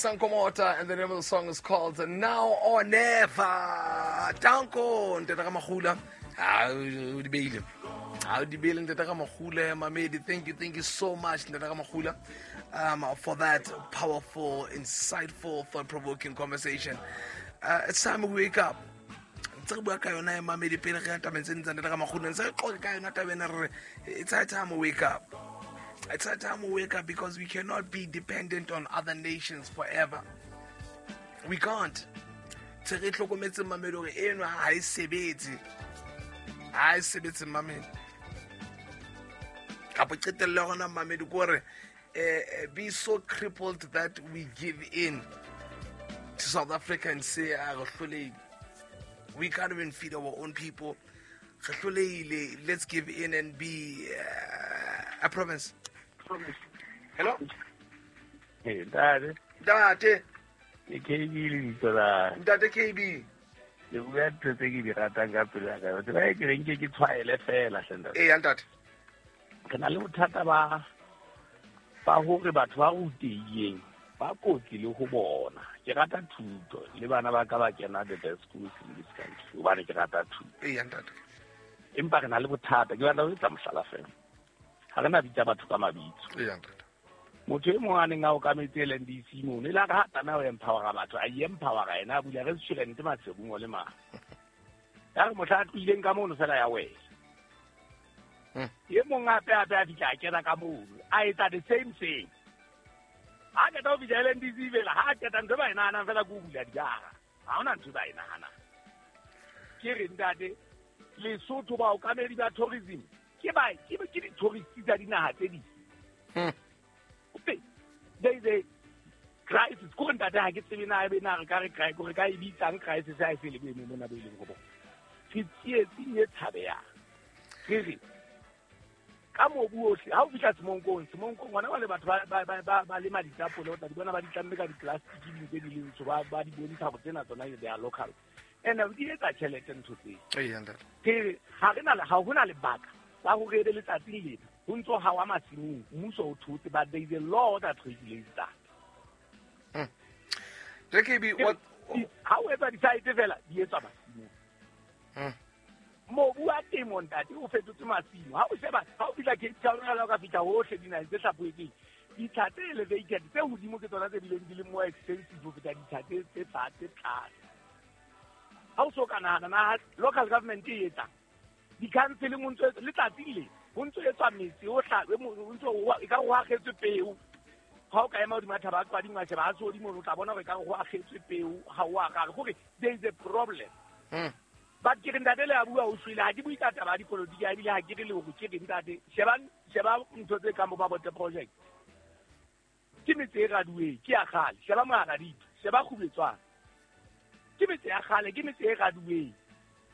Sankomota, and the name of the song is called Now or Never. Danko, Ntata Ramagula. Ah, o di beile. Ah, o di beile, Ntata Ramagula, Mamedi. Thank you so much, Ntata Ramagula, for that powerful, insightful, thought-provoking conversation. It's time we wake up. Ntse re bua ka yona e Mamedi pele re ya tabeng tse ding tsa Ntata Ramagula. Ntse re qoqa ka yona taba ena re re, it's high time we wake up. It's high time we wake up because we cannot be dependent on other nations forever. We can't. Tse re hlokometse Mamedi hore eno ha e sebetse. Ha e sebetse Mamedi. Kapa qetello ya rona Mamedi ke hore, be so crippled that we give in to South Africa and say, ah, re hlolehile. We can't even feed our own people. Re hlolehile. Let's give in and be a province. Hello? Hey, Ntate. Ntate. Ke KB le lebitso la. Ntate KB. Le bua ntho tse ke di ratang ka pelo ya ka. Tsela e ke reng ke ke tshwaele fela, hle, ntate. Ee, ntate. Re na le bothata ba hore batho ba rutehileng ba kotsi le ho bona. Ke rata thuto le bana ba ka ba kena the best schools in this country hobane ke rata thuto. Ee, ntate. Empa re na le bothata, ke batla ho etsa mohlala fela. Ha re na bitsa batho ka mabitso. Ee, ntate. Motho e mong a neng a okametse LNDC mono, e le ha re tlameha ho empowera batho, a i-empowera ena, a bula restaurant Maseru le mang. Ya re mohla a tlohileng ka mono fela ya wela. E mong hape hape a fihla a kena ka mono, a etsa the same thing. Ha qeta ho fihla LNDC fela, ha qeta ntho e ba e nahanang fela ke ho bula dijara. Ha hona ntho e ba e nahanang. Ke re ntate, Lesotho baokamedi ba tourism ke ba, ke, ke di-tourist tsa dinaha tse ding. There is a crisis. Ko re ntate ha ke tsebe na ebe na re ka re crisis, re ka e bitsang crisis ha e se le boemong mona bo e leng ho bona. Re tsietsing e tshabehang. Re re, ka mobu ohle, ha o fihla Semonkong, Semonkong hona jwale batho ba lema ditapole, o tla di bona ba di tlamme ka di-plastic di ntse di le ntsho, ba di bontsha hore tsena tsona they are local. And di etsa tjhelete ntho tseo. Ee, ntate. Ke re, ha re na le, ha hona lebaka la hore ebe letsatsing lena ho ntso hawa masimong, mmuso o thotse, but there is a law that regulates that. JKB, Ke what ha o etsa di-site fela, di etswa masimong. Mobu wa temo, ntate, o fetotse masimo. Ha o sheba, ha o fihla Cape Town, ha o ka fihla hohle dinaheng tse hlaphohetsweng, ditsha tse elevated, tse hodimo ke tsona tse bileng di le more expensive ho feta ditsha tse fatshe tlase. Ha o so ka nahana, na local government e etsang? Di-council ho ntso etswa, letsatsi le, ho ntso etswa metse o hla, e mo, ho ntso ho, e ka re ho akgetswe peo. Ha o ka ema hodima thaba ya Qwading wa sheba ha se hodimo, o tla bona hore e ka re ho akgetswe peo, ha o akgale. Kore there is a problem. But ke re ntate le a bua o shwele, ha ke bue ka taba ya dipolotiki, ha ebile ha ke re le hore ke re ntate, sheba ntho tse kang bo Mabote project. Ke metse e raduweng, ke ya kgale. Sheba Moharaditwe, sheba Kgubetswana. Ke metse ya kgale, ke metse e raduweng.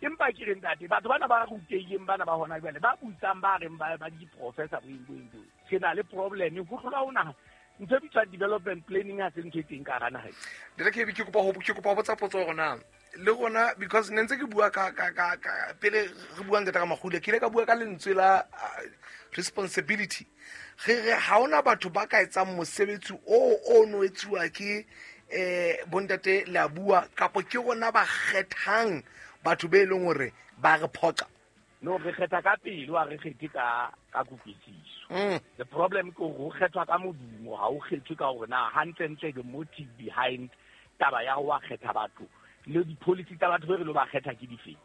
Empa ke re ntate, batho bana ba rutehileng bana ba hona jwale, ba busang ba reng ba di-professor boeng, boeng, boeng. Re na le problem, ho hlola ho naha. Ntho e bitswang development planning ha se ntho e teng ka hara naha e. Ntate KB, ke kopa ho botsa potso hore na le rona, because ne ntse ke bua ka, ka, ka, ka, pele re buang Ntate Ramagule, ke ile ka bua ka lentswe la responsibility. Re re ha hona batho ba ka etsang mosebetsi o no etsuwa ke bontate le a bua, kapo ke rona ba kgethang batho be leng hore ba re phoqa. No, re kgetha ka pelo, ha re kgethe ka kutlwisiso. The problem ke hore ho kgethwa ka modumo, ha ho kgethwe ka hore na hantlentle the motive behind taba ya ho wa kgetha batho le di-policy tsa batho be re lo ba kgetha ke difeng.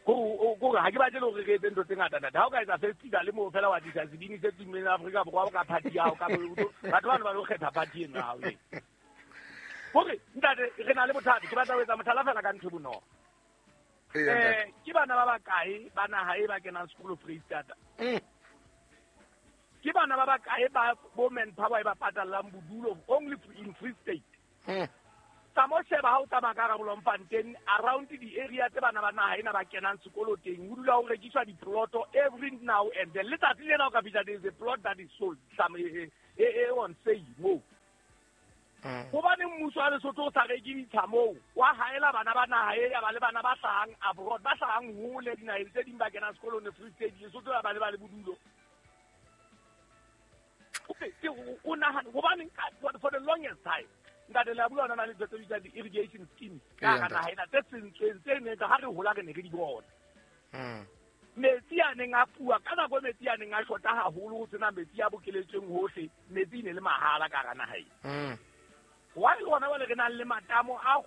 Kore ha ke batle le hore re etse ntho tse ngata, ntate. Ha o ka etsa festival moo fela wa tlisa sebini se tummeng Afrika Borwa ka party ya hao, ka bo-, batho bano ba lo kgetha party eno ya hao eo. Hore, ntate, re na le bothata. Ke batla ho etsa mohlala fela ka ntho e bonolo. Ee, ntate. Ke bana ba bakae ba naha e ba kenang sekolo Freistata? Ke bana ba bakae ba bo manpower e ba patallang bodulo only in Free State? Tsa mo sheba ha o tsamaya ka hara Bloemfontein, around the area tse bana ba naha ena ba kenang sekolo teng, ho dula ho rekiswa diploto every now and then. Letsatsi lena o ka fihla, there is a plot that is sold, some, on sale moo. Hobane mmuso wa Lesotho o sa reke ditsha moo, wa haela bana ba naha e, ya ba le bana ba hlahang abroad, ba hlahang hole dinaheng tse ding ba kenang sekolo ne Free State, Lesotho ya ba le ba le bodulo. Okay, ke o nahana, hobaneng ka, for the longest time, Ntate la bua ona le tse bitsang di-irrigation schemes ka hara naha ena tse sentsweng tse neng ka ha re hola re ne re di bona. Metsi a neng a fuwa ka nako metsi a neng a shota haholo ho sena metsi a bokeletsweng hohle, metsi e ne le mahala ka hara naha ena. Why le hona jwale re nang le matamo a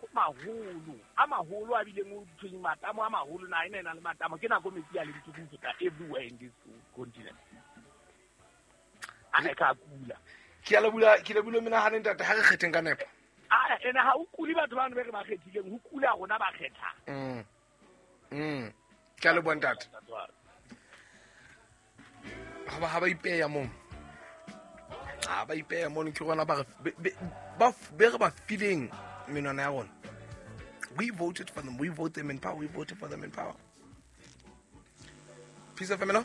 maholo a bileng o thweng matamo a maholo, naha ena e nang le matamo, ke nako metsi a leng turu ho feta everywhere in this continent. A ka kula. Ke a le bula, ke le bula menahano ntate, ha re kgetheng ka nepo. A ene ha o kule batho bano be re ba kgethileng, ho kula rona ba kgethang. Ke a leboha ntate. Ha ba ipeya moo. Ha ba ipeya mono ke rona ba re be re ba fileng menwana ya rona. We voted for them. We vote them in power. We voted for them in power. Peace of family.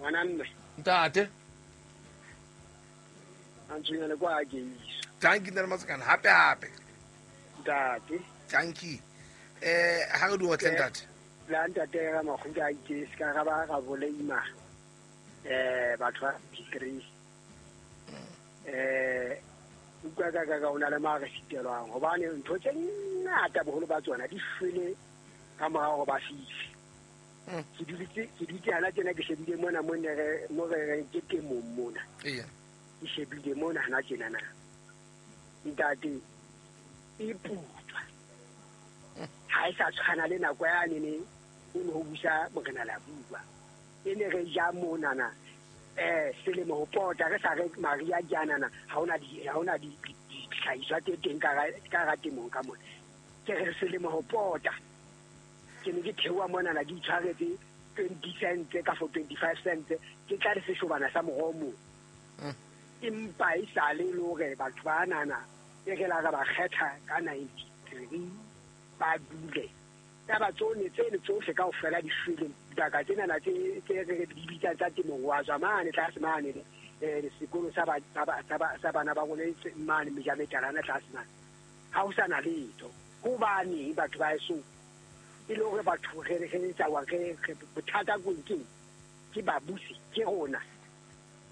Ngwana mme. Ntate. A ntshwenyana kwa ke iso. Thank you ntate Masekane. Hape hape. Ntate. Thank you. Ha re di otle ntate. La ntate ra makgutla a itse se ka ra ba ra boleima. Batho ba P3. Utlwa ka ka ona le mare sitelwang hobane ntho tse ngata boholo ba tsona di shwele ka morao ba fihle. Ke dutse hana tjena ke shebile mona mo ne re mo re reng ke temong mona. Eya. Ke shebile mona hana tjena na. Ntate e putswa. Ha e sa tshwana le nako ya nene o ne ho busa morena la bua. E ne re ja mona na. Selemo ho pota re sa re Maria Janana ha ona di ditlhahiswa tse teng ka ra temong ka mona. Ke re selemo ho pota. Ke ne ke theoha mona na di tshwaretse 20 cents ka for 25 cents ke tla re seshobana sa moromo. Empa e sa le hore batho ba nana e re la re ba kgetha ka 93 ba dule. Taba tsone tsene tsohle kaofela di shwele dibaka tsena tse re di bitsang tsa temong wa tswa mane tlase mane sekolo sa bana ba rona mane mejametalana tlase mane. Ha ho sa na letho. Hobane batho ba eso e le hore batho re tsa wa re bothata keng ke babusi ke rona.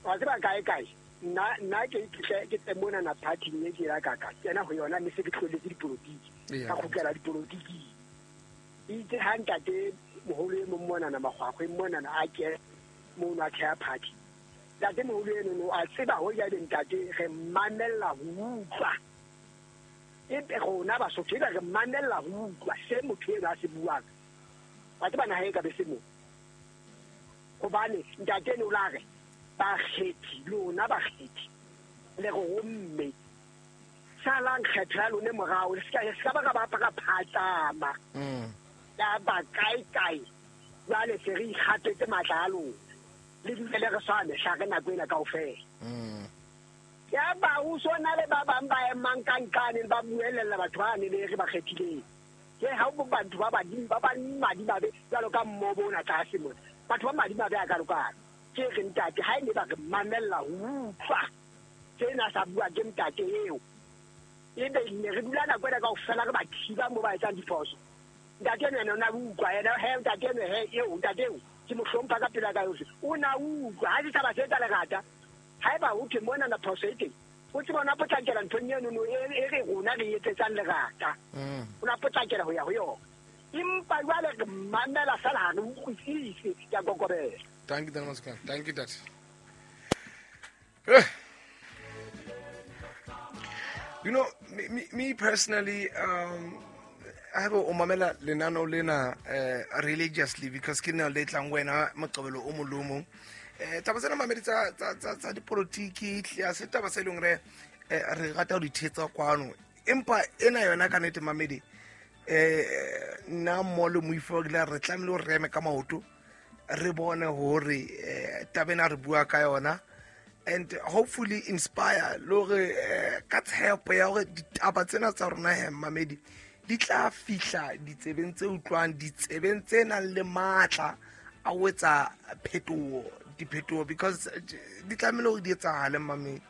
Wa tseba kae kae nna ke ke mona na party e ke la ka kena ho yona mme se ke tloletse dipolotiki ka kgutlela dipolotiki. Itse ha ntate moholo e mong mona na makgwakgwe mona na a ke mono a theha party. Ntate moholo eno no a tseba ho ja ntate re mamella ho utlwa. Ebe rona Basotho ebe re mamella ho utlwa se motho eno a se buang. Wa tseba naha e ka be se mo. Hobane ntate eno la re bakgethi lona bakgethi le re romme. Salang kgetho ya lone morao le se ka ba ka phatsama. Ya ba kae kae jwale se re ikgapetse matla a lona le dule le re swane hla re nako ena kaofela. Ya ba o sona le ba bang ba emang ka nkane ba buelella batho ba ne le re ba kgethileng. Ke ha o batho ba badimo ba ba madimabe jwalo ka mmobo ona tlase mona. Batho ba madimabe a ka lokana. Ke re ntate ha e ne ba re mamella ho utlwa tsena sa bua ke ntate eo. Ebe ne re dula nako ena kaofela re ba thiba mo ba etsang diphoso. Ntate eno ena o na utlwa yena he ntate eno he eo ntate eo ke mo hlompha ka pela ka yohle. O na utlwa ha se taba se etsa lerata. Haeba ho thwe mona na phoso e teng o tseba ona potlakela nthong eno no e re rona re etsetsang lerata. O na potlakela ho ya ho yona. Empa jwale re mamela fela ha re utlwisise ke a kokobela. Thank you Ntate Masekane. Thank you ntate. You know, me personally, I have o mamela lenano lena religiously because ke nna le tlang wena moqobelo o molomo. Taba tsena mamedi tsa dipolotiki tle se taba se leng re re rata ho di thetsa kwano. Empa ena yona ka nnete mamedi nna mo le moifo ke re tlamehile ho reme ka maoto re bone hore taba ena re bua ka yona and hopefully inspire le hore ka tshepo ya hore ditaba tsena tsa rona he mamedi di tla fihla ditsebeng tse utlwang, ditsebeng tse nang le matla a ho etsa phetoho, diphetoho because di tlamehile hore di etsahale mamedi.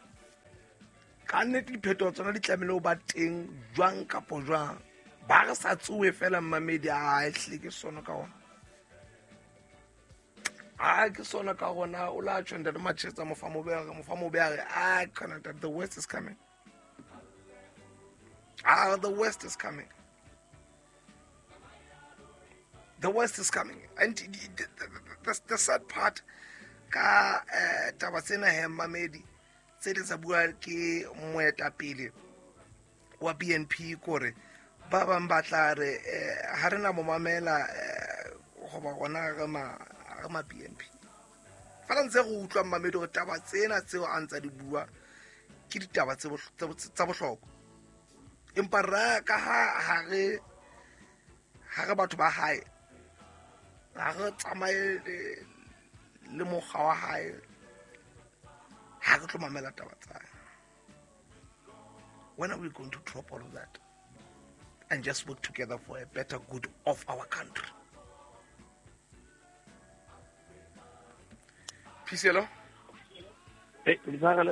Ka nnete diphetoho tsona di tlamehile ho ba teng jwang kapo jwang. Ba re sa tsohe fela mamedi a ehlile ke sono ka ona. A ke sona ka rona o la tjho ntate Machetsa mofa mobe a re a kana the worst is coming. Ah, the worst is coming. The worst is coming. And the sad part ka taba tsena he, mamedi, tse di tsa bua ke moetapele wa BNP, kore ba bang ba tla re ha re na mo mamela goba gona re ma BNP. Fela ntse go utlwa, mamedi, gore taba tsena tseo a ntsa di bua ke ditaba tsa bohlokwa, empa ra ka ha re batho ba hae, ha re tsamaye le mokgwa wa hae, ha re tlo mamela taba tsa hae. When are we going to drop all of that and just work together for a better good of our country? Phihlelo. Lenaneo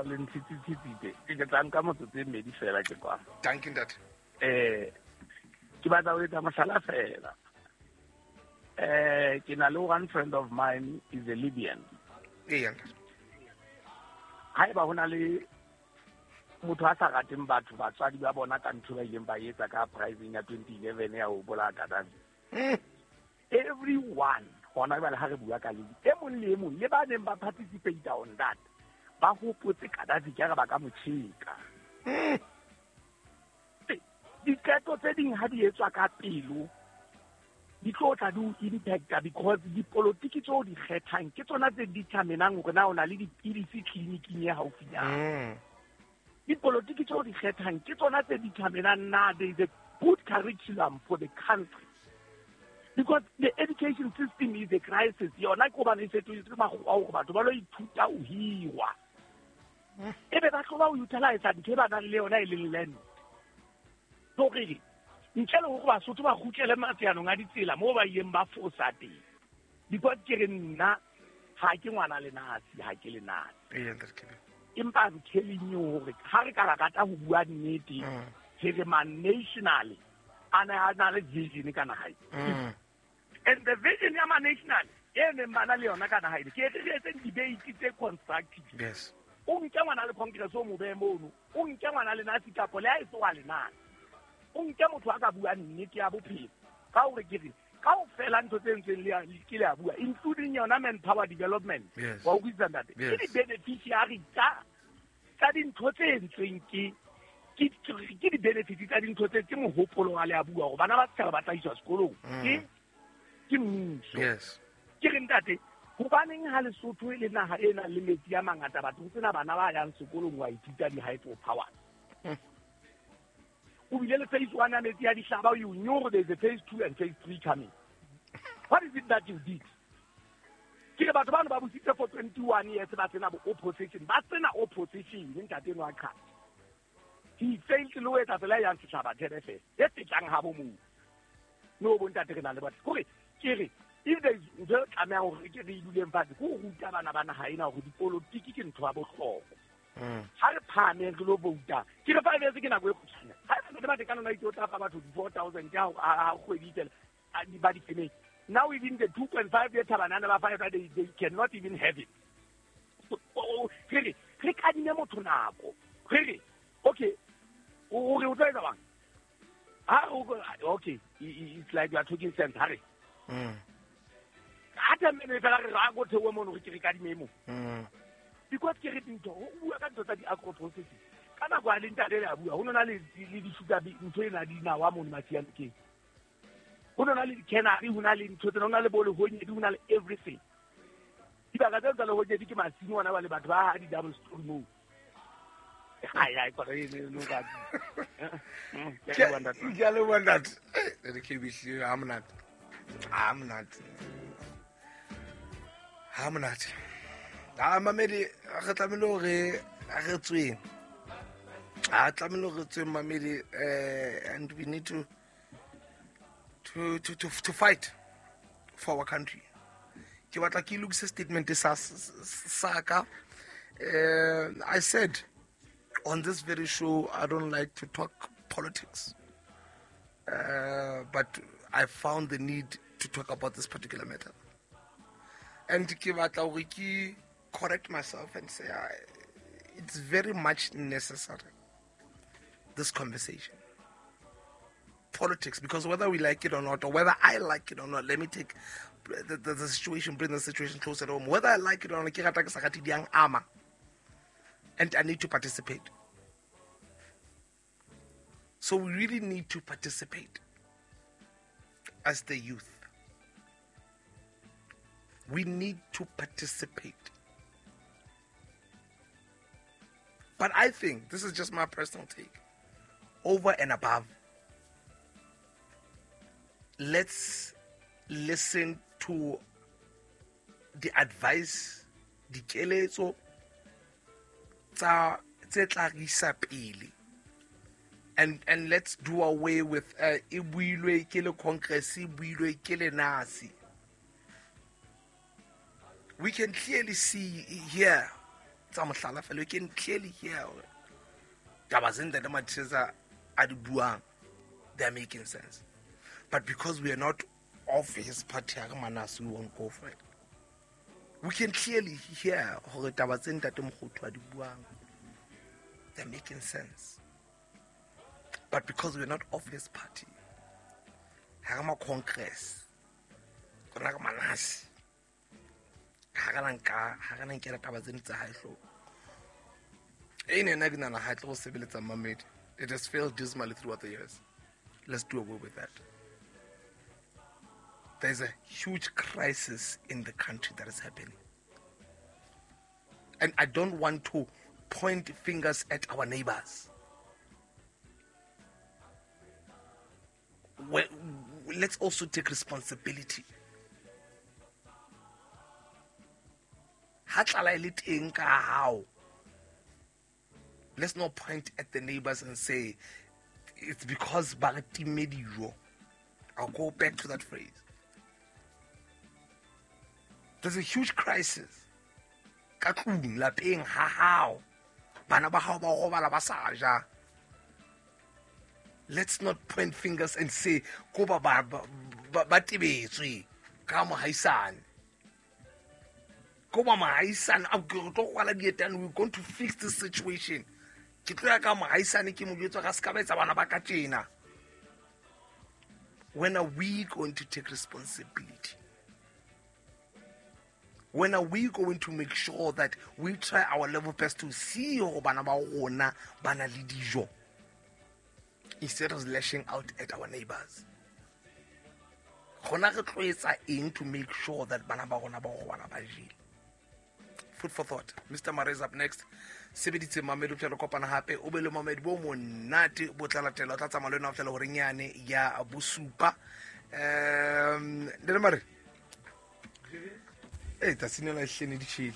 le ntshitsitsitse, ke tla nka motsotso e mmedi fela ke kwa. Dankie, ntate. Ke batla ho etsa mohlala fela. Ke na le one friend of mine is a Libyan. Eya, ntate. Haeba ho na le motho a sa rateng batho, batswadi ba bona ka ntho ba ileng ba etsa ka uprising ya 2011 ya ho bolaya Gaddafi, everyone hona jwale ha re bua ka Libya, e mong le e mong le ba neng ba participate on that, ba hopotse Gaddafi ke re ba ka mo tjheka. Diqeto tse ding ha di etswa ka pelo, di tlo tla di o impacta, because dipolotiki tseo di kgethang ke tsona tse determinang hore na o na le dipidisi tleliniking e haufinyana. Dipolotiki tseo di kgethang ke tsona tse determinang na there is a good curriculum for the country, because the education system is a crisis. Yona ke hobane e fetohetse makgowa hore batho ba lo ithuta ho hirwa, ebe ba tlo ba ho utilize ntho e ba nang le yona e leng land. So re ntle le hore Basotho ba kgutlele matseanong a ditsela moo ba ileng ba fosa teng, because ke re nna ha ke ngwana lenasi, ha ke lenasi. Eya, ntate Kebe. Empa I'm telling you hore ha re ka ra rata ho bua nnete, re re ma-national a ne a na le vision ka naha e. And the vision ya ma-national e neng ba na le yona ka naha ena, ke re re etseng debate tse constructive. O nke ngwana le Congress, o mo behe mono, o nke ngwana lenasi kapo le ha e se wa lenasi, o nke motho a ka buang nnete ya bophelo, ka hore ke re kaofela ntho tse ntseng ke le a bua, including yona manpower development. Wa utlwisisa, ntate? Ke di-beneficiary tsa dintho tse entsweng, ke di-benefits tsa dintho tse ke mohopolo wa le a bua hore bana ba setjhaba ba tla iswa sekolong ke mmuso. Ke re ntate, hobaneng ha Lesotho e le naha e nang le metsi a mangata, batho ho sena bana ba yang sekolong wa ithuta di-hydro power? O bile le phase one ya metsi a dihlaba. You knew there is a phase two and phase three coming. What is it that you did? Ke re batho bano ba busitse for 21 years, ba sena bo opposition, ba sena opposition. Ntate eno a qhatsa, he failed le ho etsa tsela e yang setjhaba thebe fela e fetlang ha bo moo. No, bo ntate, re na le batho kore ke re if there is ntho e tlamehang hore ke re e duleng fatshe, ke ho ruta bana ba naha ena hore dipolotiki ke ntho ya bohlokwa. Ha re phahameng re lo vouta. Ke re 5 years ke nako e kgutshwane. Ha e le batho ka nona itse o tla fa batho di-4,000 ha kgwedi fela ba di femeng. Now even the 2.5 year thabanana ba five, they cannot even have it. So, re re re kadime motho nako, re re okay, o re o tlo etsa bang ha okay, it's like you are talking sense. Ha re ha tlamehile fela re ra go theohe mono, re ke re kadime mo. Because ke re dintho o bua ka ntho tsa di-agro processing ka nako a le ntate le a bua, ho nona le di-sugar ntho ena dinawa mono Masianokeng, ho nona le di-cannery, ho na le ntho tsena, ho na le bo lehonyedi, ho na le everything. Dibaka tseo tsa lehonyedi ke masimo ona ba le batho ba ha di-double story moo. Ai, ai, kore no ka ke a leboha, ntate. Ke a leboha, ntate. Ntate KB, hlile ha monate, ha monate, ha monate. A mamedi, re tlamehile hore re tsweng, a tlamehile hore re tsweng, mamedi, and we need to fight for our country. Ke batla ke lokise statement sa ka. I said on this very show I don't like to talk politics, but I found the need to talk about this particular matter, and ke batla hore ke correct myself and say it's very much necessary. this conversation. Politics, because whether we like it or not, or whether I like it or not, let me take the situation, bring the situation closer to home. Whether I like it or not, ke rata ke sa rate, di yang ama. And I need to participate. So we really need to participate as the youth. We need to participate. But I think, this is just my personal take, over and above, let's listen to the advice, dikeletso tsa tse tla re isa pele. And let's do away with e builwe ke le Congress, e builwe ke le nasi. We can clearly see here, tsa mohlala fela, we can clearly hear hore taba tse Ntate Mathesa a di buang, they are making sense. But because we are not of his party, ha re manase, we won't go for it. We can clearly hear hore taba tse Ntate Mokgothu a di buang, they're making sense. But because we're not of his party, ha re ma Congress, rona re manase, ha re na nka, ha re na nkela taba tseno tsa hae hloohong. E ne nna ke nahana ha e tlo go sebeletsa mamedi. It has failed dismally throughout the years. Let's do away with that. There's a huge crisis in the country that is happening. And I don't want to point fingers at our neighbors. Well, let's also take responsibility. Ha tlala e le teng ka hao, let's not point at the neighbors and say it's because ba re timme dijo. I'll go back to that phrase. There's a huge crisis. Ka tlung, lapeng, ha hao. Bana ba hao ba robala ba sa ja. Let's not point fingers and say ko ba ba ba ba tebetswe ka mohaisane. Ko ba mohaisane, a ke tlo kwala dietane, we're going to fix this situation. Ke tlo ya ka mohaisane ke mo jwetsa ga se ka ba etsa bana ba ka tjena. When are we going to take responsibility? When are we going to make sure that we try our level best to see hore bana ba rona ba na le dijo, instead of lashing out at our neighbors? Rona re tlo etsa eng to make sure that bana ba rona ba robala ba jele? Food for thought. Mr. Mare is up next. Sebeditse mamedi o fihla re kopana hape. O be le mamedi bo monate bo tla latela. O tla tsamaya le wena ho fihlela horeng yane ya bosupa. Ntate Mare. Hey, tsatsing lena e hlene di tjhele.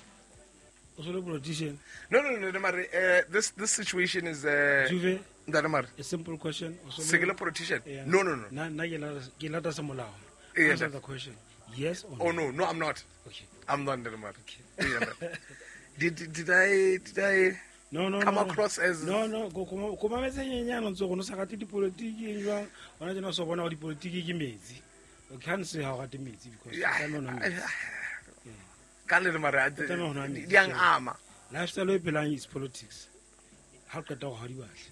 O so le politician? No, no, no, Ntate Mare, this situation is, Juve, Ntate Mare. A simple question. O so le Se ke le politician? Yeah. No, no, no. Na, na ke lata sa molao. Yeah, Answer Ntate. the question. Yes or Oh, no? no, no, I'm not. Okay. I'm not, Ntate Mare. Okay. Yeah, Ntate. Did I No, no, come no, no. across as No, no, go mametse nyenyane o ntse go no sa rate dipolotiki eng jwang? Hona tjena o so bona hore dipolotiki ke metsi. O can't say ha o rate metsi because Yeah, o tlameha ho nwa metsi. Ka nnete mare, O tlameha ho nwa metsi. di yang ama. Lifestyle e phelang is politics. Ha o qeta ho ha di batle.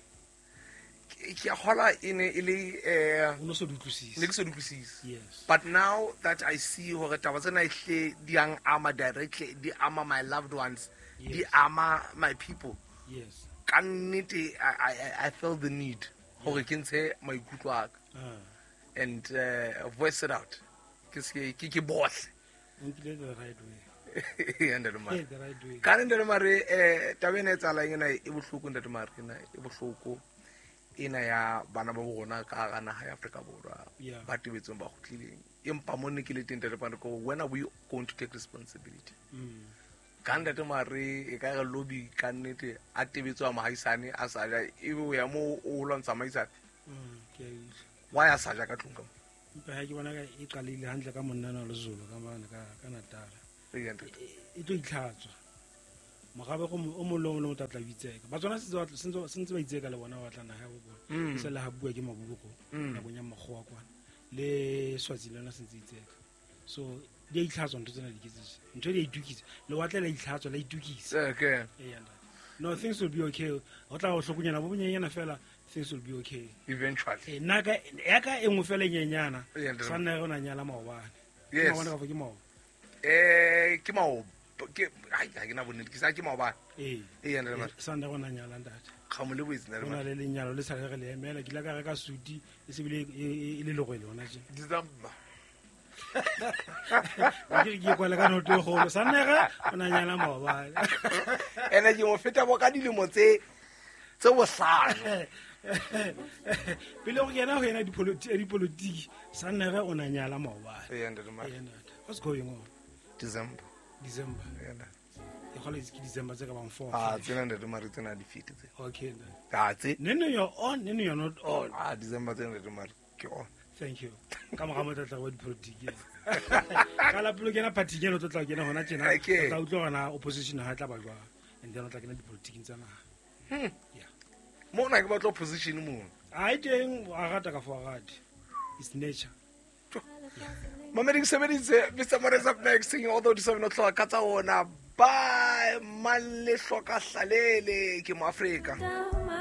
Ke a kgolwa e ne e le, O no so di utlwisise. ne ke so di utlwisise. Yes. But now that I see hore taba tsena ehle di yang ama directly, di ama my loved ones, di Yes. ama my people. Yes. Ka nnete, I feel the need hore ke ntshe maikutlo a ka and voice it out. Ke se ke bohle. O nkile the right way. Ntate Mare. Yeah, the right way. Ka Ntate Mare, taba ena e etsahalang ena e bohloko, Ntate Mare, ena e bohloko. Ena ya bana ba bo rona ka hara naha ya Afrika Borwa, Yeah. ba tebetsweng ba kgutlileng. Empa mo ne ke le teng, Ntate Mare, ke hore when are we going to take responsibility? Ka Ntate Mare, e ka re lobby ka nnete a tebetswe a mohaisane a sa ja, ebe o ya moo o lwantsha mohaisane. Ke a utlwa. Why a sa ja ka tlung ka mo? Empa ha ke bona ka e qalile hantle ka monna enwa Lezolo ka mane ka Natal. Ee, Ntate. E tlo itlhatswa. Morabe go o mong le o mong o tla tla itseka. Batswana se ntse ba itseka le bona ba batla naha ya bo bona. Se le ha bua ke Mabuko nakong ya makgowa kwana. Le Swazi le yona se ntse itseka. So di a itlhatswa ntho tsena di ke tse. Ntho di a itukisa. Lewatle la itlhatswa la itukisa. Okay. Ee, ntate. No, things will be okay. Ho tla ho hlokonyana bo bonyenyana fela Things will be okay. Eventually. Eh, nna ka ya ka e nngwe fela e nyenyana. Yeah, ntate. Sa nna re o na nyala maobane. Ke Yes. maobane kapa ke maoba? Ke mao ke ai ha ke na bonnete ke sa ke maobane. Ee. Ee, ntate Mare. Sa nna re o na nyala ntate. Ga mo lebohetse ntate Go na Mare. le lenyalo le sa le re le emela. Ke ile ka reka suti e se bile e le legwele hona tje. December. Ke re ke kwale ka noto e kgolo. Sa nna re o na nyala maobane. Ene ke mo feta bo ka dilemo tse bohlano. Pele go kena go yena dipolotiki, sa nna re o na nyala maobane. Ee, ntate Mare. Ee, ntate. What's going on? December. December. Ee, ntate. Ke kgolwa ke December tse ka bang 4. Ah, tsena ntate Mare tsena di fete tse. Okay, ntate. Ah, tse. Nene you're on, nene you're not on. Ah, December tsena ntate Mare ke on. Thank you. Ka mora mo tla wa dipolotiki. Ka la pele o kena party eno o tlo tla kena hona tjena. Okay. O tla utlwa hore na opposition ha e tla ba jwang. And then o tla kena dipolotiking tsa naha. Yeah. Mona ke batla opposition mono. Ha e teng a rata ka fo a rate. It's nature. Mamedi ke sebeditse Mr. Morris up next singing although di 7 o'clock ka tsa ona. Bye Malehloka Hlalele ke mo Afrika. Down.